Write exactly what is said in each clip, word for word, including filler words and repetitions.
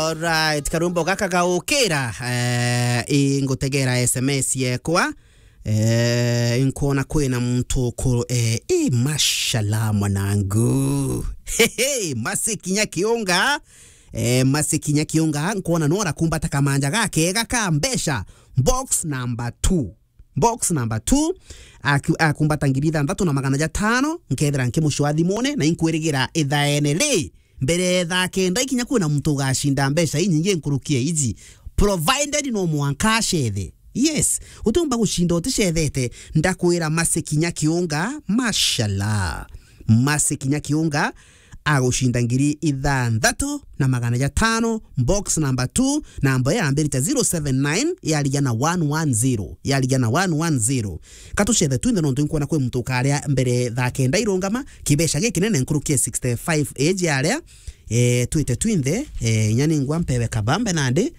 Alright, karwimbo gaka gaukira, eh, ingutegera S M S yekwa. Eh, nkuona kwina muntu ku-, eh, i mashala mwanangu. Hehe, Masi Kinya Kiunga. Eh, Masi Kinya Kiunga, nkuona nora kumbata kamanja gakega ka mbeca. Box number two. Box number two, aku-, akumbata ngiri ithanthatu na magana jatano, nkethira nkimucwa thimune, na inkwirigira ithaene ri, mbere ya thaa kenda ikinya kwina muntu ugacinda mbeca inyingi nkuruki ya iji, provided no mwanka acethe. Yes, utiumba gucinda uticethete, ndakwira Masi Kinya Kiunga, mashallah. Masi Kinya Kiunga, agucinda ngiri ithanthatu na magana jatano, box number two, namba iyo yambirite zero seven nine, yarigia na one one zero, yarigia na one one zero. Katucethe twinthe nontu inkwona kwi muntu ukaria mbere thaa kenda irungama, kibeca gikinene nkuruki ya sixty-five age aria, eh, twite twinthe, eh, inya ningwa mpewe kabambe nandi,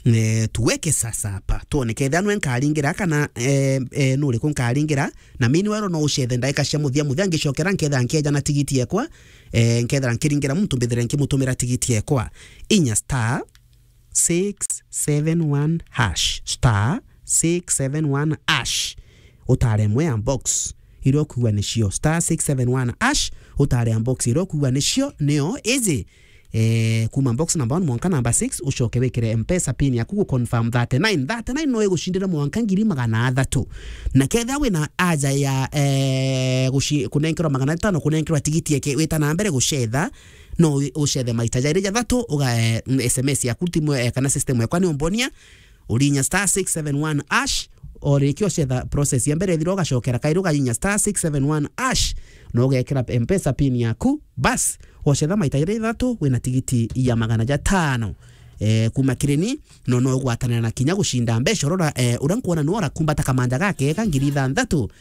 eh, tuweke sasa hapa. Tuone kethira nwe nkaringira kana, eh, eh, nuriku nkaringira, na meanwhile no ucethe ndaika cia muthia muthia ngicokera nkethira nkeja na tigiti yekwa, eh, nkethira nkiringira muntu mbithire nkimutumira tigiti yekwa. Inya star six seven one hash, star six seven one hash. Utare imwe ya box iria ukwigua nicio, star six seven one hash, utare ya box iria ukwigua nicio, nio iji. Eh, kuma box number one mwanka number six, ucoke wikire Mpesa pin yaku gu confirm thirty-nine. Thirty-nine no igucindire mwanka ngiri magana athatu. Na kethira wina aja ya, eh, guci-, kunenkerwa magana atano, kunenkerwa tigiti eke, wita na mbere gucetha, no u-, ucethe maita jairi jathatu, uga, eh, S M S yaku timu, eh, kana system yakwa ni umbonia, urinya star six seven one hash, o riki ucetha process ya mbere ithira, ugacokera kairi ugacinya star six seven one hash, na ugekira Mpesa pin yaku, bas, wacetha maita jairi jathatu, wina tigiti ya magana jatano, eh, kuma kireni, no, no ugwatanira na kinya gucinda mbeca. Urora, eh, uria nkwona ni ora kumbata kamanja gakega ngiri ithanthatu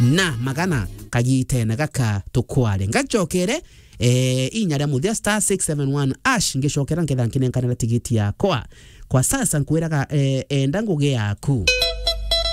na magana kagitene gaka tukware. Ngacokere, eh, inya ria muthia star six seven one hash, ngicokera nketha nkinenkanira tigiti yakwa. Kwa sasa nkwiraga, eh, enda ngugi yaku.